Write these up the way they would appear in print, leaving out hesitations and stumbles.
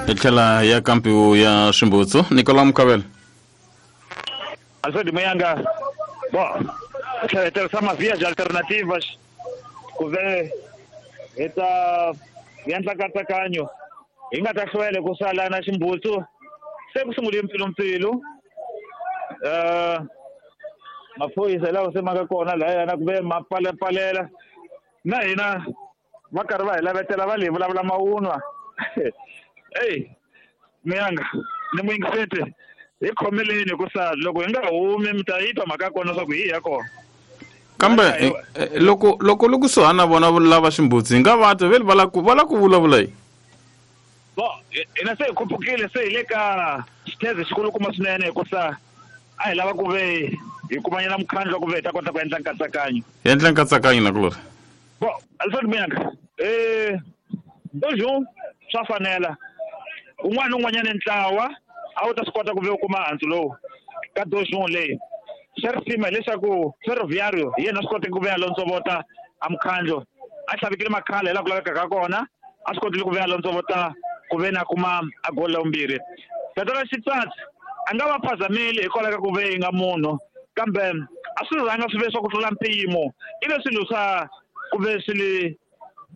Hi tlhela ya kampiwu ya swimbutsu Nicolas Mukavela. Alfred Muyanga, bom, hi tirhisa mavias alternativas ku ve hi ta endla nkatsakanyo hi nga ta hlwela ku sala na ximbutsu se ku sungule mpfilumpfilu maphorisa lawa se ma nga kona lahayana ku ve ma pfalepfalela na hina va karhi va hi lavetela va le vulavula mavunwa. Eyi Muyanga ni muyingiseti hi khomeleni hikusa loko hi nga humi mi ta yi twa mhaka ya kona leswaku hi ya kona. Kambe loko loko loko kusuhani na vona lava ximbutsi hi nga va twa vele va la ku va la ku vulavula yi. Bo hina se hi khupukile se hi le ka xitheze xikulukumba swinene hikusa a hi lava ku ve hi kumanyana mukhandlu wa ku ve hi ta kota ku endla nkatsakanyo. Hi endla nkatsakanyo nakulorhi. Bo Alfred Muyanga bonjour swa fanela un'wana na un'wanyana ntlawa a wu ta swi kota ku ve u kuma handzu lowu ka dojo leyi. Xa risima hileswaku Ferroviario hi yena a swi koteke ku ve a londzovota a mukhandlu a hlavikile makhala hi laha ku lavekaka kona a swi kotile ku ve a londzovota ku ve na kuma a goli la vumbirhi. Tatana Xitsatsi a nga va phazameli hikwalaho ka ku ve yi nga munhu kambe a swi rhanga swi ve swa ku tlula mpimo i ve swilo swa ku ve swi le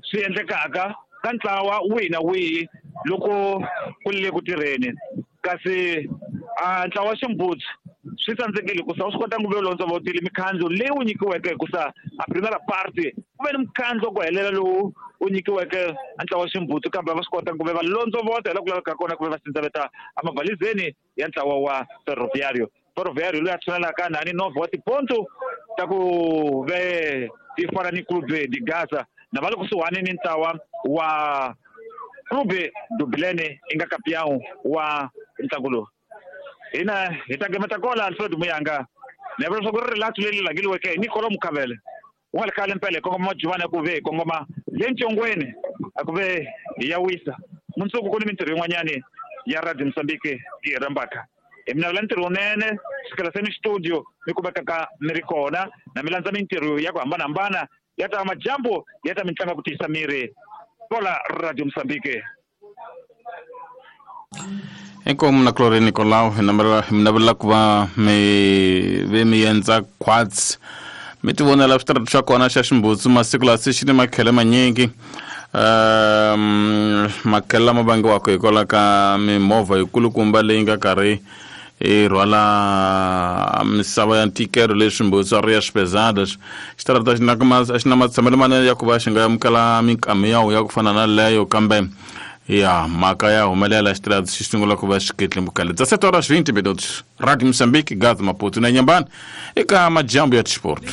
swi endlekaka ka ntlawa wihi na wihi loko ku le ku tirheni kasi a ntlawa wa ximbutsi swi tsandzekile hikusa wu swi kota ku ve londzovotile mikhandlu leyi wu nyikiweke hikusa a primera parte ku ve ni mukhandlu wa ku helela lowu wu nyikiweke a ntlawa wa ximbutsi kambe va swi kota ku ve va londzovota hi laha ku lavekaka kona ku ve va sindzaveta emavalizeni ya ntlawa wa Ferroviario. Ferroviario loyi a tshunelaka nani novha wa tiponto ta ku ve ti fana ni Clube de Gaza na va le kusuhani ni ntlawa wa Clube do Bilene i nga campeão wa ntlangu lowu. Hina hi ta gemeta kola Alfred Muyanga ni vula leswaku ri rilato leri langiliweke hi Nicolo Mukavele ku nga ri khale mpela hi kongoma majuvani a ku ve hi kongoma le ntsongweni a ku ve hi ya wisa mundzuku ku ni mintirho yin'wanyani ya Radio Mozambique yi hi rhambaka hi mi navela ntirho wunene sukela se ni studio mi kumekaka mi ri kona na mi landza mintirho ya ku hambanahambana ya ta majambu ya ta mitlangu ya ku tiyisa miri kola Radio Mozambique. Inkomu na Gloria Nicolau hi navela ku va mi ve mi endza quads mi ti vonela switarata swa kona xa ximbutsu masiku lawa se xi ni makhele manyingi makhele lama vangiwaka hikwalaho ka mimovha yikulukumba leyi nga karhi yi rhwala misava ya ntikelo leyi swimbutsu a ri ya swipezadas xitarata xi na a xi na matshamelo manene ya ku va xi nga amukela minkamiyawu ya ku fana na leyo kambe ya mhaka ya humelela xitirati xi sungula ku va xiketlemukale dza 7 horas 20 minutos. Radio Moçambique, Gaza, Maputo na Inhambane eka majambu ya tisport.